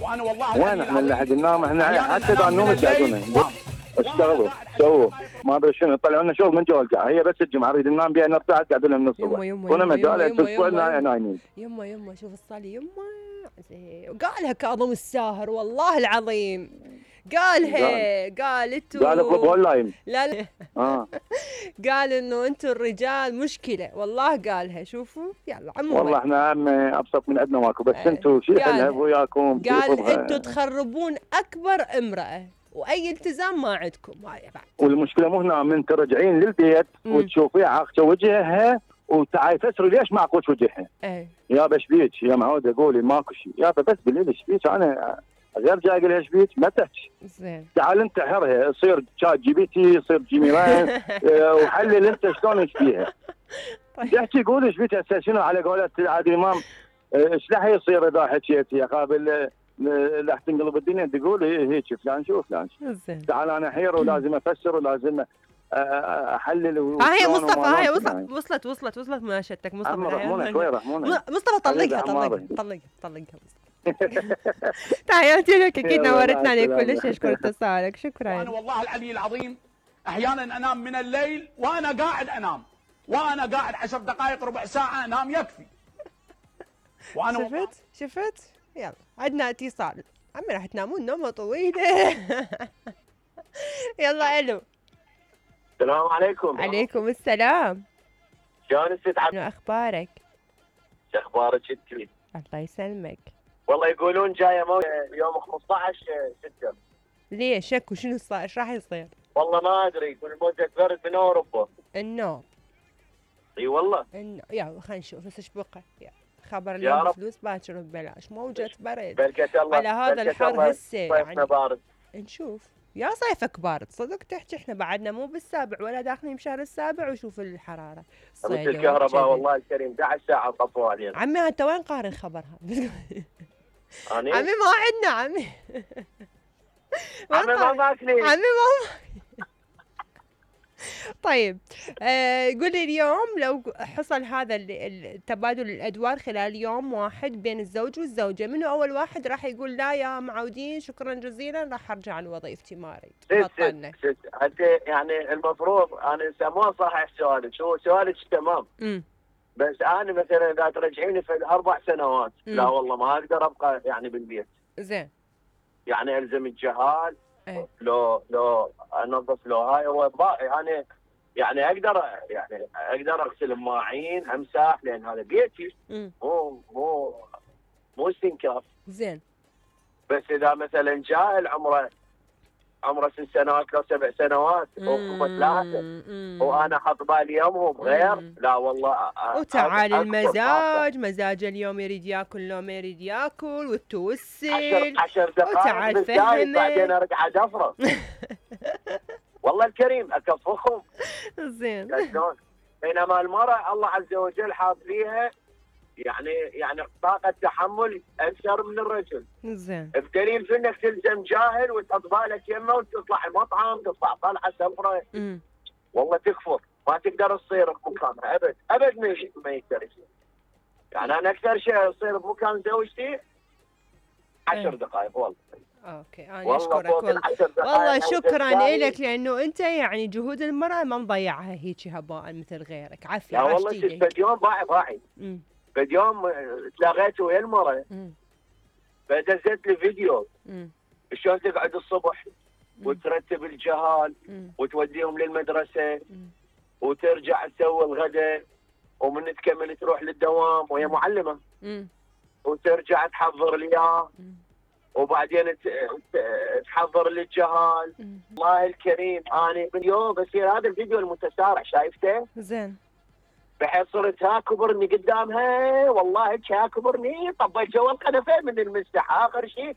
وانا والله وين احنا اللي حد ننام؟ احنا حتى اذا ننوم يقعدونا اشتغلوا سووا ما ادري شنو يطلعوا لنا شغل من جو القاعه. هي بس الجمعه نريد ننام بها نرتاح قاعدين لنا من الصبح كنا مجال تسولنا نايمين. يما شوف الصالي يما وقالها كاظم الساهر والله العظيم قال انتوا قال اطلبوا اللايم لا قال انه انتوا الرجال مشكله والله قالها. شوفوا يلا عموما والله احنا ابسط من عندنا ماكو بس انتوا شيء حلها وياكم. قال انتوا تخربون اكبر امراه واي التزام ما عندكم. هاي بعد والمشكله مو هنا من ترجعين للبيت وتشوفيها عاقشه وجهها وتعاي تسري ليش ما عقوش وجهها. يا بشبيك يا معوده قولي ماكو شيء يا بس بالليل شبيك انا غير جاي اقول لها شبيك ما تحكي. زين تعال انتحرها يصير شات جي بي تي يصير جيميلاين وحلل انت شلون ايش فيها. تحكي قولي ايش بيك هسه شنو على قولة عادل امام ايش راح يصير اذا حكيت يا قابل راح تنقلب الدنيا تقول هيك فلان شو فلان شو. تعال انا حير ولازم افسر ولازم احلل. هي مصطفى هاي وصلت مناشدتك مصطفى طلقها تحياتي لك اكيد نورتنا عليك كلش. اشكر اتصالك شكرا. انا والله العلي العظيم احيانا انام من الليل وانا قاعد انام وانا قاعد 10 دقائق ربع ساعه انام يكفي. وانا شفت يلا عندنا اتصال. عمي راح تنامون نومه طويله. يلا الو. السلام عليكم. عليكم السلام. شلون الست شنو اخبارك؟ شو اخبارك انت؟ الله يسلمك. والله يقولون جايه موت يوم 15/6. ليش شكو شنو صار؟ ايش راح يصير؟ والله ما ادري يقول موجة برد من اوروبا. النوم. اي والله. يلا خلينا نشوف بس ايش بقى. خبر اليوم بفلوس باكر ببلاش موجة برد. بركة الله على هذا الحر هسه يعني بارد. نشوف يا صيفك بارد صدق تحكي. احنا بعدنا مو بالسابع ولا داخلين بشهر السابع وشوف الحراره. مثل الكهرباء والله الكريم 11 ساعه طفوا علينا. عمي انت وين قارن خبرها؟ عمي ما عندنا عمي. ما ماكلين عمي ما طيب قول لي اليوم لو حصل هذا التبادل الادوار خلال يوم واحد بين الزوج والزوجه، منو اول واحد راح يقول لا يا معودين شكرا جزيلا راح ارجع لوظيفتي ما اريد بطلنا؟ انت يعني المفروض انا مو صحيح سؤالك، هو سؤالك تمام. بس انا مثلا اذا ترجعيني في 4 سنوات لا والله ما اقدر ابقى يعني بالبيت. زين يعني الزم الجهال لو انظف له هاي هو يعني اقدر اغسل المواعين امسح لان هذا بيتي مو استنكاف. زين بس اذا مثلا جاهل عمره 6 سنوات لو 7 سنوات او 3 وانا حط بالي يومهم غير لا والله. وتعال مزاج اليوم يريد ياكل لو ما يريد ياكل والتوسل 10 دقائق بالزايد بعدين ارجع ادفره. والله الكريم اكفخهم. زين بينما المرأة الله عز وجل حاط فيها يعني طاقة تحمل أكثر من الرجل. زين الدليل في انك تلزم جاهل وتحط بالك يمه وتطلع المطعم تطلع طلعة سفرة. والله تكفر ما تقدر تصير بمكانها ابد ما يقدر يصير. يعني انا اكثر شيء اصير بمكان زوجتي 10 دقائق والله. اوكي انا اشكرك والله شكرا لك لانه انت يعني جهود المرأة ما مضيعها هيك هباء مثل غيرك. عافية لا والله شفت يوم باعي بعد يوم تلاقيت ويا المرأة فدزت لي فيديو شلون تقعد الصبح وترتب الجهال وتوديهم للمدرسة وترجع تسوي الغداء ومن تكمل تروح للدوام وهي معلمة وترجع تحضر لي اياه وبعدين تحضر لي الجهال. الله الكريم انا من يوم بصير هذا الفيديو المتسارع شايفته؟ زين بحيث صرت هاكبرني قدامها والله هاكبرني طبيت جوا القنفه من المسح اخر شيء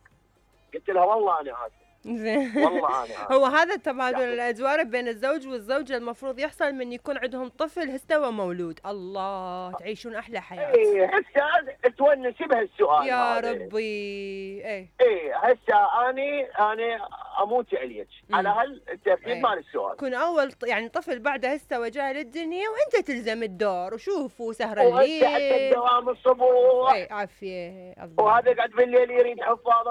قلت لها والله انا اسف. زين والله انا هو هذا التبادل الادوار بين الزوج والزوجه المفروض يحصل من يكون عندهم طفل هسه ومولود. الله تعيشون احلى حياه. اي هسه تونسي بهالسؤال يا ربي. هسه اني اموت عليك على هالترتيب مال السؤال. كن اول يعني طفل بعده هسه وجاي للدنيا وانت تلزم الدور وشوفوا سهر الليل وهسه حتى الدوام الصبح. عافيه الله. وهذا قاعد بالليل يريد حفاظه